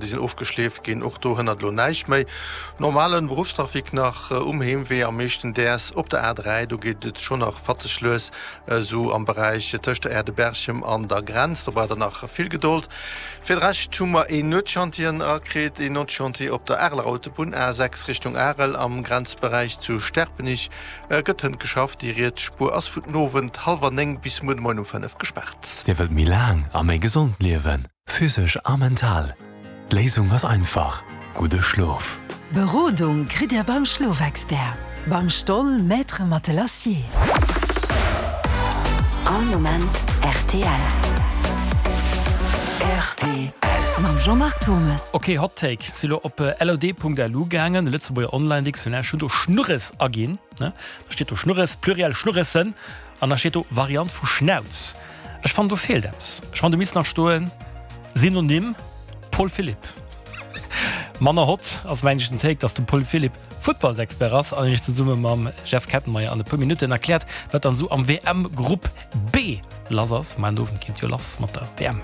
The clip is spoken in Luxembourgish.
Déi sinn ofgeschleeft ginn, och do hënnert elo näischt méi. Normalen Beruffstrafic nach um Heemwee, am meeschten däers op der A3, do geet et schonn nach fatzeg lues, esou am Beräich tëscht der Aire de Berchem an der Grenz. Do braucht der nach vill Gedold. Fir de Rescht hu mer een Nuetschantier erakritt, een Nuetschantier op der Areler Autobunn, A6 Richtung Arel, am Grenzberäich zu Sterpenich gëtt hënt geschafft. Déi riets Spuer ass vun den Owend hallwer 9 bis muer de Moien um 5 gespaart. Dir wëllt méi laang a méi gesond liewen? Physesch a mental. D'Léisung ass einfach, gudde Schlof. Berodung kritt Dir beim Schlofexpert, beim Stoll Maître Matelassier. All Moment rtl. Rtl. Mam Jean-Marc Thommes. Ok, Hot Take, si lo op lod.lu gaangen, de Lëtzebuerger Online Dictionnaire, ech hunn do Schnurres aginn, ne, da steet do Schnurres, Pluriel Schnurressen, an da steet do Variant vu Schnauz. Ech fannen do feelt eppes. Ech fannen do misst nach stoen Synonym Paul Philipp. Manner hot ass mengen ech den Take, dass de Paul Philipp Futtballsexpert ass an iech zesumme mam Jeff Kettenmeyer an e puer Minutten erkläert, wat dann esou am WM Grupp B lass ass. Muer den Owend geet jo lass mat der WM.